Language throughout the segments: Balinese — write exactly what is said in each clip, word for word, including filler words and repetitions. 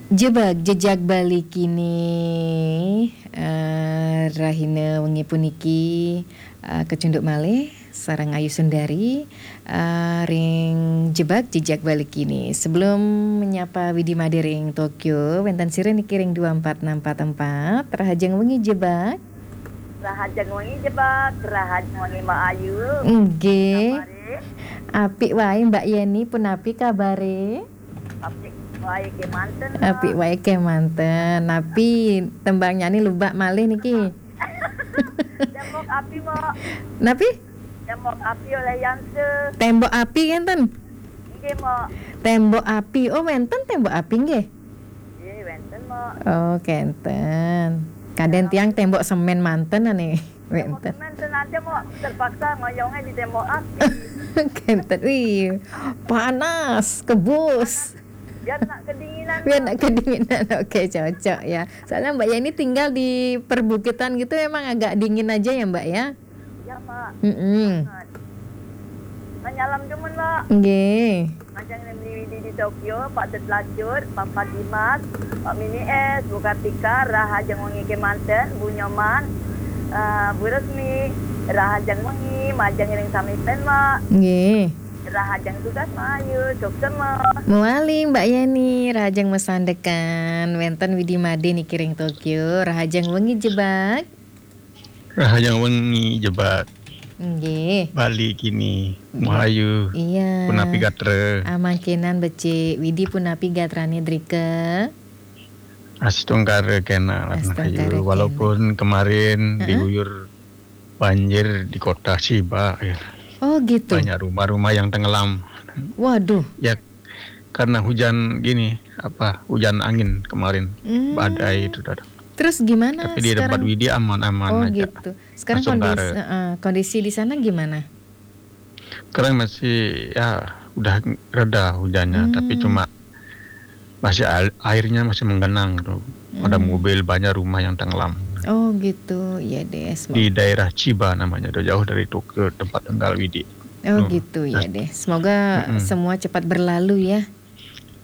Jebak jejak Bali kini, eh, rahina wengi puniki, eh, kecunduk malih sareng Ayu Sundari, eh, ring jebak jejak Bali kini. Sebelum menyapa Widi Made ring Tokyo, wenten sira niki ring dua empat enam empat empat, rahajeng wengi jebak. Rahajeng wengi jebak, rahajeng wengi Mbak Ayu. Nggih. Kabare? Apik wae Mbak Yeni, punapi kabare? Apik wae kemanten, Mbak. Apik wae kemanten. Napi tembangnyane lubak malih niki? Tembok api, Mbak. Napi? Tembok api oleh Yangse. Tembok api enten? Nggih, Mbak. Tembok api. Oh, wenten tembok api nggih? Nggih, wenten, Mbak. Oh, kenten. Kaden tiang tembok semen manten ane. Tembok semen senate, Mbak. Terpaksa ngoyongnya di tembok api. Kenten. Wih, panas, kebus. Biar nak kedinginan, Biar Mbak. Nak kedinginan. Oke, cocok ya. Soalnya Mbak Yeni tinggal di perbukitan gitu, emang agak dingin aja ya, Mbak ya? Ya, Mbak. Mm-mm. Sangat. Manyalam dumun, Mbak. Nggih. Majeng ring Widi di Tokyo, Pak Tet Lacur, Papa Dimas, Pak Mini S, Bu Kartika, rahajeng wengi kemanten, Bu Nyoman, eh, Bu Resmi, rahajeng wengi, majeng ring sami pen, Mbak. Nggih. Rahajeng tugas, Mbak Ayu, suksema. Mawali, Mbak Yeni, rahajeng masandekan. Wenten Widi Made niki ring Tokyo, rahajeng wengi jebak. Rahajeng wengi jebak. Nggih. Bali kini, Nggih. Mahayu. Iya. Punapi gatra? Amangkinan becik. Widi punapi gatrane drika? Astungkara kena, Astungkara Mahayu. Kena. Walaupun kemarin Heeh. diguyur banjir di kota Chiba, ya. Oh, gitu. Banyak rumah-rumah yang tenggelam. Waduh. Ya, karena hujan gini, apa, hujan angin kemarin, Hmm. badai itu, Dada. Terus gimana Tapi di tempat sekarang? Widi aman-aman Oh, aja. gitu. Sekarang Astungkara. kondisi, heeh, kondisi di sana gimana? Sekarang masih, ya, udah reda hujannya, Hmm. tapi cuma masih al-, airnya masih menggenang tuh. Ada Hmm. mobil, banyak rumah yang tenggelam. Oh, gitu. Iya deh, semoga Di daerah Chiba namanya, udah jauh dari Tokyo, tempat tinggal Widi. Oh, Hmm. gitu, ya Ast-, deh. Semoga mm-mm. semua cepat berlalu ya.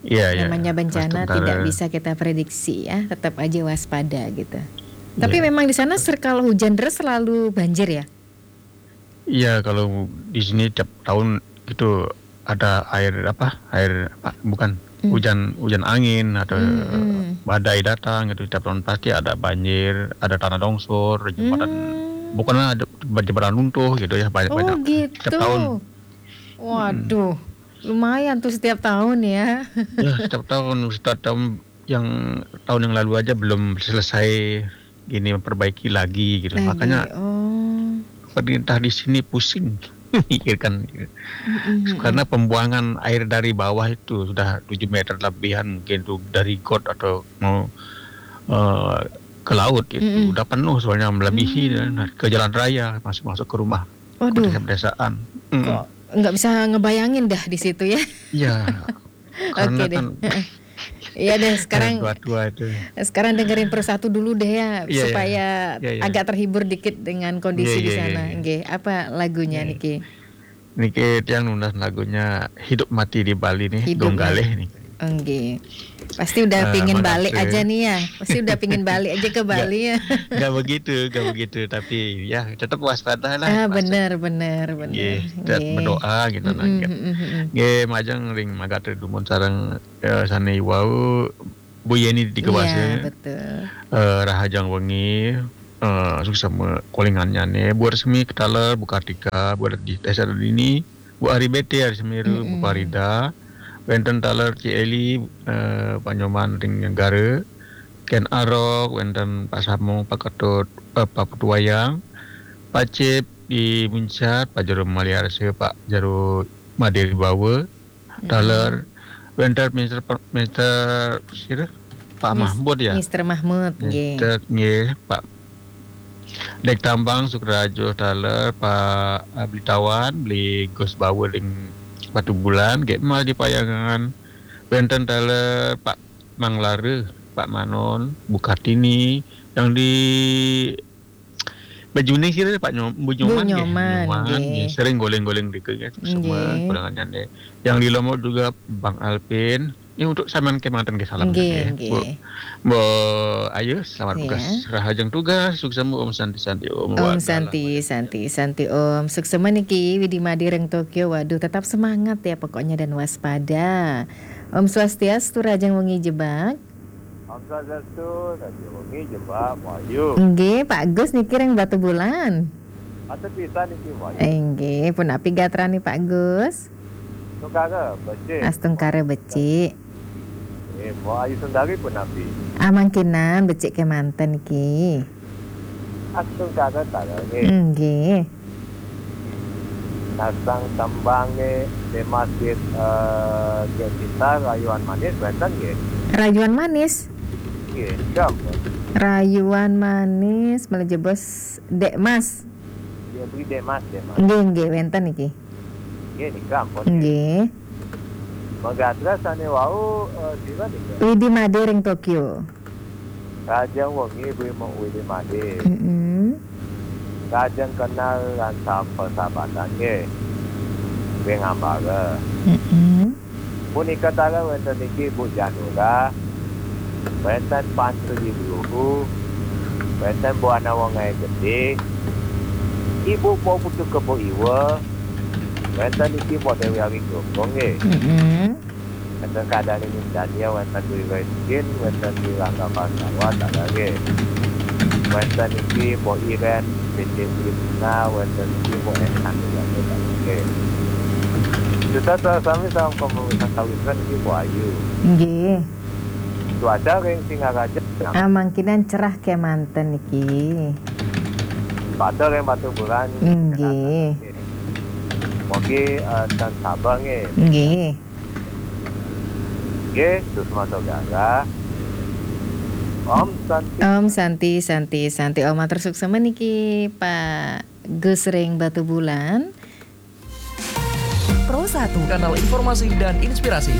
Iya, iya. Namanya bencana Astungkara. tidak bisa kita prediksi ya, tetap aja waspada gitu. Tapi Iya. memang di sana ser-, kalau hujan deras selalu banjir ya? Iya, kalau di sini tiap tahun itu ada air apa, air apa, bukan, Hmm. hujan, hujan angin atau Hmm, hmm. badai datang gitu, tiap tahun pasti ada banjir, ada tanah longsor, jembatan, Hmm. bukannya ada jembatan runtuh gitu ya, banyak, Oh, banyak. Tiap gitu. tahun. Waduh, Hmm. lumayan tuh setiap tahun ya. Ya, setiap tahun, setiap tahun, yang tahun yang lalu aja belum selesai gini memperbaiki lagi gitu. Lagi, Makanya oh. pemerintah di sini pusing mikirkan gitu. Mm-mm, mm-mm. Karena pembuangan air dari bawah itu sudah tujuh meter lebihan mungkin tuh dari got atau mau, eh, ke laut itu. Mm-mm. Udah penuh soalnya melebihi Hmm. dan ke jalan raya, masuk-masuk ke rumah, ke Waduh. desa-desaan. Mm-mm. Kok nggak bisa ngebayangin dah di situ ya? Iya. Karena Oke deh. kan Heeh. Iya deh, sekarang, Yang tua-tua itu. sekarang dengerin Persatu dulu deh ya, Iya, iya. supaya Iya, iya. agak terhibur dikit dengan kondisi Iya, di iya, iya, sana. iya. Nggih, apa lagunya Iya. niki? Niki tiang nunas lagunya Hidup Mati di Bali nih, Hidup Dong Mati. Galih nih. Nggih. Pasti udah Eh, pingin balik makasih. aja nih ya. Pasti udah pingin balik aja ke Nggak, Bali ya. nggak begitu, nggak begitu. Tapi ya tetap waspada lah, Ah, waspada. bener, bener, bener. Nggih, tetap Nggih. berdoa gitu lah, Mm-mm, gitu. mm-mm, mm-mm. Nggih, majeng ring magatra dumun sareng, eh, sane wau, Bu Yeni di Iya, Kebase. betul. Eh, rahajeng wengi, eh, suksma kolingannyane, Bu Resmi Ketaler, Bu Kartika, Bu Dadi, Teh Sadini, Bu Ari Bete, Ari Semiru, Bu Mm-mm. Farida, wenten taler Ci Eli, eh, Pak Nyoman ring Negara, Ken Arok, wenten Pak Samong, Pak Ketut, eh, Pak Putu Wayang, Pak Cip di Muncat, Pak Jero Maliarse, Pak Jero Madiri Bawa, Mm-mm. taler, wenten Mister Per-, Mister sira? Pak Mis-, Mahmud ya? Mister Mahmud, nggih. Mister, nggih, Pak Dek Tambang, Sukrajo taler, Pak, eh, Beli Tawan, Beli Gus Bawa ring Batubulan, Gek Mal di Payangan, wenten taler Pak Manglara, Pak Manon, Bu Kartini, yang di Bejuni sira Pak Nyom-, Bu Bu Nyoman nggih, Nyoman, Nyoman nggih. nggih, sering goleng-goleng dike nggih, semua Nggih. kolingannyane. Yang di Lombok juga Bang Alvin, Nggih, untuk sampean kemanten nggih salam nggih, nggih. Bu, Bu Ayu, selamat tugas. Rahajeng tugas, suksma Om Santi Santi Om. Om Santi Santi Santi Om. Suksma niki Widi Made ring Tokyo. Waduh, tetap semangat ya pokoknya dan waspada. Om Swastiastu, rahajeng wengi Jebak. Om Swastiastu, rahajeng wengi Jebak, Bu Ayu. Nggih, Pak Gus niki ring Batubulan. Atur pisan niki, Bu Ayu. Inggih, punapi gatrane Pak Gus? Astungkara becik. Astungkara becik. Eh, Bu Ayu Sundari punapi? Amangkinan becik kemanten niki. Astungkara tara nggih. Nggih. Nasang tembang nggih, tema sit, eh, Gek Cinta Rayuan Manis wenten nggih. Rayuan Manis? Nggih, sampun. Rayuan Manis, malih jebos Dek Mas. Ya, beli Dek Mas, Dek Mas. Nggih, nggih, wenten niki. Nggih, nika ampun. Nggih. Magatra sane wau, eh, sira nika? Widi Made ring Tokyo. Rahajeng wengi, Bu Widi Made. Mm-mm. Rahajeng kenal lan sapersahabatan nggih. Ring ambara. Mm-mm. Punika taler wenten niki Bu Janura, wenten Pan Sri Luhu, wenten Bu Ana Wongai Gede, Ibu Po Putu Kebo Iwa, wenten niki Bu Dewi Ari Gogong nggih. Mm-mm. Wenten Kadani Daniel, wenten Dwi Reskin, wenten Dwi Rangga Pandawa, taler nggih. Wenten niki Bu Iren, P T Imna, wenten niki Bu Enan, taler nggih. Suksma sami salam kemuliaan kawitan niki Bu Ayu. Nggih. Cuaca ring Singaraja. Amangkinan cerah kemanten niki. Cuaca ring Batubulan. Nggih. Mugi, eh, tan sabar nggih. Nggih. Nggih, Susma Sogara. Om Santi. Om Santi, Santi, Santi. Om matur suksma niki Pak Gus ring Batubulan. Pro satu, kanal informasi dan inspirasi.